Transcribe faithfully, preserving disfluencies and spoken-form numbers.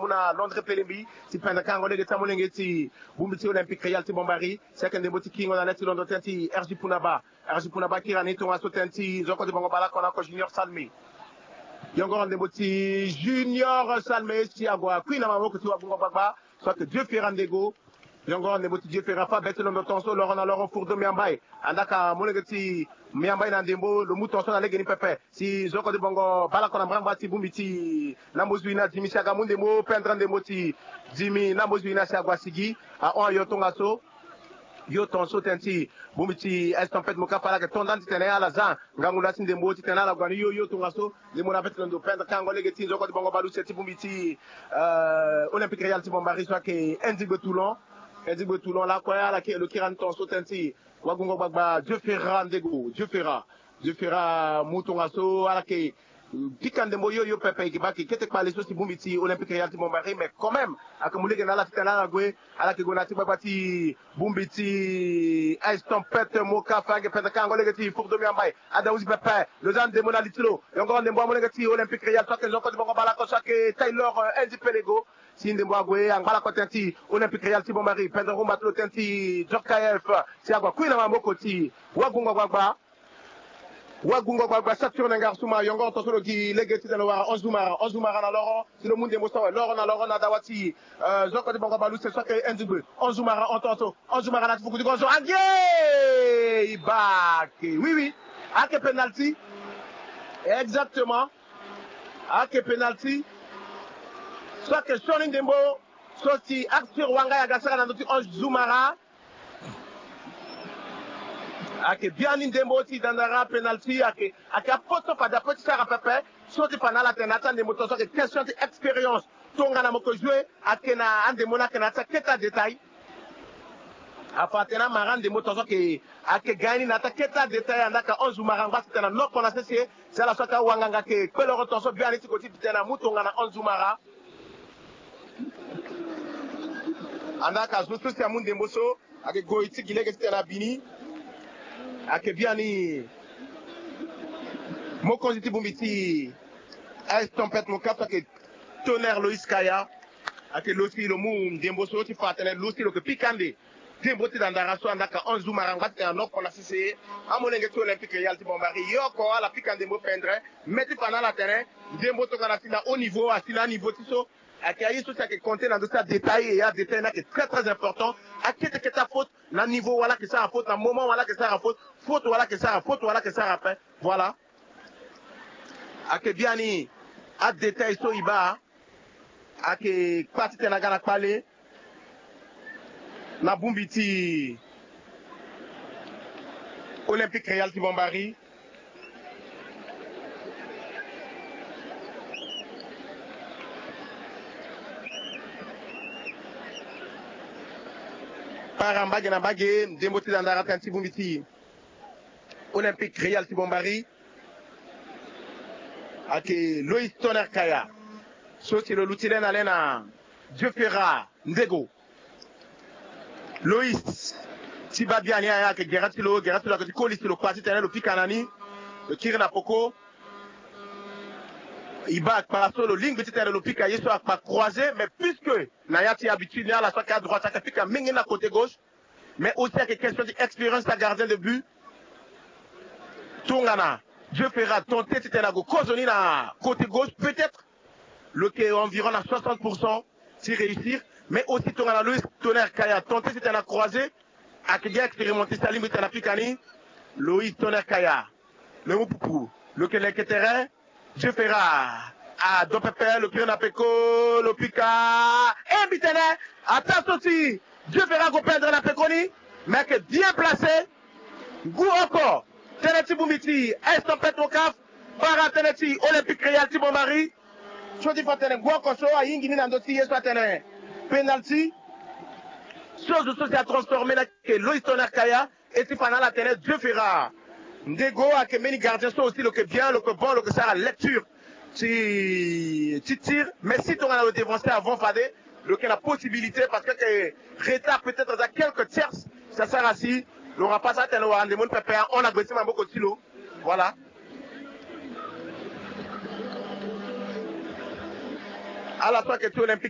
mu na Londres Pelembi, ti pendre kango lege ti amolenge ti bongbi ti Olympique Real ti Bombari. Si ayeke ndembo ti kingo na le ti londo tënë ti R J Punaba. R J Punaba kiri na ni tongaso tënë ti nzoko ti bongo bale oko na oko Junior Salme. Yongoro ndembo ti Junior Salme si ague akui na maboko ti wagungo gbagba. So ayeke Dieu Ferra Ndego. Yongoro ndembo ti Dieu Ferra fâ be ti londo tongaso loro na loro Fourdo Miambai. Andaa ka molenge ti Miambai na ndembo lo mu tongaso na legeni pepe. Si nzoko ti bongo bale oko na mbrambra ti bongbi ti Nambozuina Dimi si aga mu ndembo pendre ndembo ti Dimi Nambozuina si ague asigi ahon ayo tongaso. Yo tongaso tënë ti bongbi ti Estampette Mokafa ala yeke to nda ni titene ala za ngangu laa ti ndembo titene ala gue na ni yo yo tongaso. Ndembo na be ti londo pendre kango lege ti nzoko ti bongo bale use ti bongbi ti, euh, Olympique Real ti Bombari so ayeke Ndigbe Toulon. Ndigbe Toulon lakue ala yeke lo kiri na ni tongaso tënë ti wagungo gbagba Dieu Ferra Ndego, Dieu Ferra. Dieu Ferra mu tongaso ala yeke pika ndembo yo yo pepe, e yeke baa kete kpale so si bongbi ti Olympique Real ti Bombari, mais quand même ayeke mu lege na ala titene ala gue, ala yeke gue na ya ti gbagba ti bongbi ti Estampette Mokafa ayeke pendre kango lege ti Fourdo Miambai. Ada huzi pepe lo za ndembo na li ti lo. Yongoro ndembo amolenge ti Olympique Real so ayeke nzoko ti bongo bale oko so ayeke Taylor, euh, Andy Pelego. Si ndembo ague angba lakue tënë ti Olympique Real ti Bombari, pendre rumba ti lo tënë ti Djorkaeff si ague akui na maboko ti wagungo gbagba. Wagungo gbagba Saturne Ngarsuma, yongoro tongaso lo gi lege titene lo wara Anzumara, Anzumara na loro, si lo mu ndembo so awe loro na loro na dawa ti, euh, nzoko ti bongo bale use so ayeke Ndigbe. Anzumara hon tongaso, Anzumara na ti fuku ti gonzo, age! E baa ake, oui, oui. Ake penalty. Exactement. Ake penalty. So ayeke sioni ndembo so si Arthur Wanga aga sara na ndö ti Anzumara. Ayeke biani ndembo ti dandara penalty, ayeke, ayeke apoto fade apeut ti sara pepe. So ti fa na ala tene na ya ti andembo tongaso ayeke question ti expérience. Tongana mo yeke jouer ayeke na andembo ni ayeke na ya ti akete adétail. Afa atene amara andembo tongaso ayeke, ayeke ga ni na ya ti akete adétail, andaa ka Anzumara angba titene anoko na sese. Si ala so ayeke awanganga ayeke kpe loro tongaso biani ti ko ti titene amu tongana Anzumara. Andaa ka zo so si amu ndembo so ayeke goi ti gi lege titene abi ni. Ayeke biani mokonzi ti bongbi ti Estampette Mokafa so ayeke Tonnerre Loïs Kaya. Ayeke lo si lo mu ndembo so ti fa atene lo si lo yeke pika ande. Ndembo ti dandara so andaa ka Anzumara angba titene anoko na sese. Amolenge ti Olympique Real ti Bombari yo oko ala pika ndembo pendre. Me ti fa na ala tene ndembo tongana asi na haut niveau, asi na aniveau ti so. Ayeke aye so si ayeke compter na ndö ti adétail, et adétail ni ayeke très très important. Akete kete afaute na niveau wala ayeke sara faute, na moment wala ayeke sara faute, faute wala ayeke sara, faute wala ayeke sara ape. Voilà. Ayeke biani adétail so e baa. Ayeke kpa titene aga na kpale na bongbi ti Olympique Real ti Bombari. Para mbage na mbage, ndembo ti dandara tënë ti bongbi ti Olympique Real ti Bombari. Ayeke Loïs Tonnerre Kaya so si lo luti le na le na Dieu Ferra Ndego. Loïs ti baa biani aye ayeke gere ti lo, gere ti lo ayeke ti koli si lo kpa titene lo pika na ni. Lo kiri na poko. E baa akpa so lo lingbi titene lo pika ye so akpa croisé, mais puisque na ya ti habitude ni ala so ayeke adroite ayeke pika mingi na côté gauche. Mais aussi ayeke question ti expérience ti agardien de but. Tongana Dieu Ferra tenter titene ague kozoni na côté gauche, peut-être lo yeke environ na soixante pour cent ti réussir. Mais aussi tongana Loïs Tonnerre Kaya tenter titene acroisé, ayeke bien expérimenté si alingbi titene apika ni. Loïs Tonnerre Kaya, lo mu pupu, lo yeke leke terrain. Dieu Ferra ado pepe, lo kiri na peko, lo pika. E mbi tene ataa so si Dieu Ferra ague pendre na peko ni. Mais ayeke bien placé. Ngu oko tënë ti bongbi ti Estampette Mokafa, para tënë ti Olympique Real ti Bombari. So ti fa tene ngu oko so ahingi ni na ndö ti ye so atene penalty. So zo so si atransformé ni ayeke Loïs Tonnerre Kaya. E ti fa na ala tene Dieu Ferra Ndego ayeke mbeni gardien so aussi lo yeke bien, lo yeke bon, lo yeke sara lecture ti, ti tir. Mais si tongana lo dévancé avant fade, lo yeke na possibilité parce que ayeke retard peut-être aza quelques tierces. Si asara si lo remplace atene lo wara ndembo ni pepe ahon na gbe ti maboko ti lo. Voilà. Ala so ayeke ti Olympique